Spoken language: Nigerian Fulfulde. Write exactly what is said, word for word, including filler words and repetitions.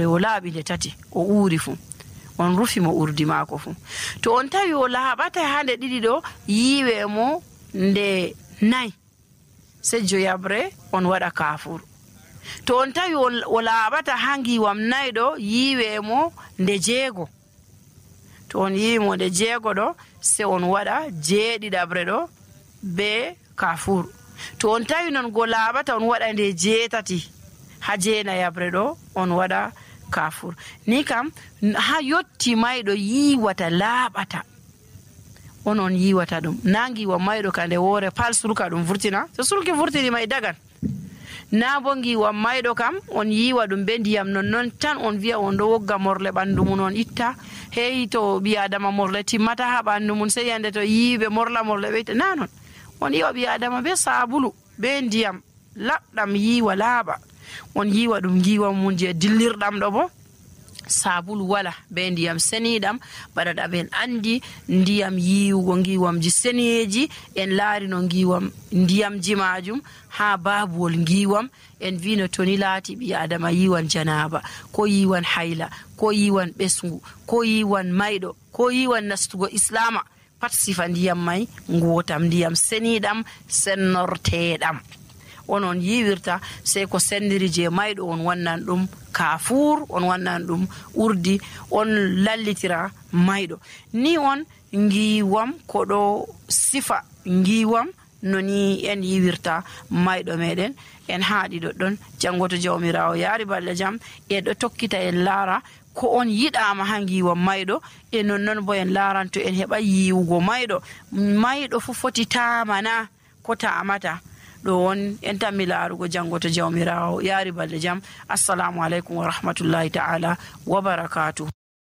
o laaɓi nde tati o uuri fu on rufi mo urdi maako fu. To on tawi o laaɓata haa nde ɗiɗi ɗo yiiwe mo nde nayi sejjo yabre on waɗa kafur. To on tawi o laaɓata haa ngiwam nayi ɗo yiiwe mo nde jeego. To on yiwi mo nde jeego ɗo se on waɗa jeeɗiɗabre ɗo be kafur. To on tawi non go laaɓata on waɗa nde jeetati haa jeenayabre ɗo on waɗa kafur. Ni kam haa yotti mayɗo yiiwata laaɓata onon yiiwata ɗum. Na ngiwa mayɗo ka nde woore pal surka ɗum vurtina, so surki vurtini may dagan. Na bo ngiwa mayɗo kam on yiiwa ɗum be ndiyam non non tan on wi'a on ɗo wogga morle ɓandu mun on itta. Hey to ɓi adama morle timmata haa ɓandu mun sey yande to yiiɓe morla morle ɓeyta. Na non, on yiiwa ɓi adama be sabulu be ndiyam laɓɗam yiiwa laaɓa. On yiiwa ɗum ngiwa mun je dillirɗam ɗo bo sabulu wala be ndiyam seniɗam baɗaɗa ɓen andi ndiyam yiwugo ngiwamji seneji en laari no ngiwam ndiyamji majum ha babuwol ngiwam en vino toni laati ɓi adama yiwan janaba ko yiwan hayla ko yiwan ɓesngu ko yiwan mayɗo ko yiwan nastugo islama pat sifa ndiyam may ngotam ndiyam seniɗam sennorteɗam onon yiwirta sey ko sendiri je mayɗo on wannan ɗum kafur on wannan ɗum urdi on lallitira mayɗo. Ni on ngiwam ko ɗo sifa ngiwam noni en yiwirta mayɗo meɗen en haaɗi ɗoɗɗon. Janngo to jawmirawo yaari balɗe jam e ɗo tokkita en laara ko on yiɗama ha ngiwam mayɗo e nonnon bo en laaranto en heɓa yiwugo mayɗo. Mayɗo fu foti tamana ko tamata ɗo on en tammi laarugo janngo to jawmirawo yaari balɗe jam. Assalamu aleykum wa rahmatullahi ta'ala wa barakatuh.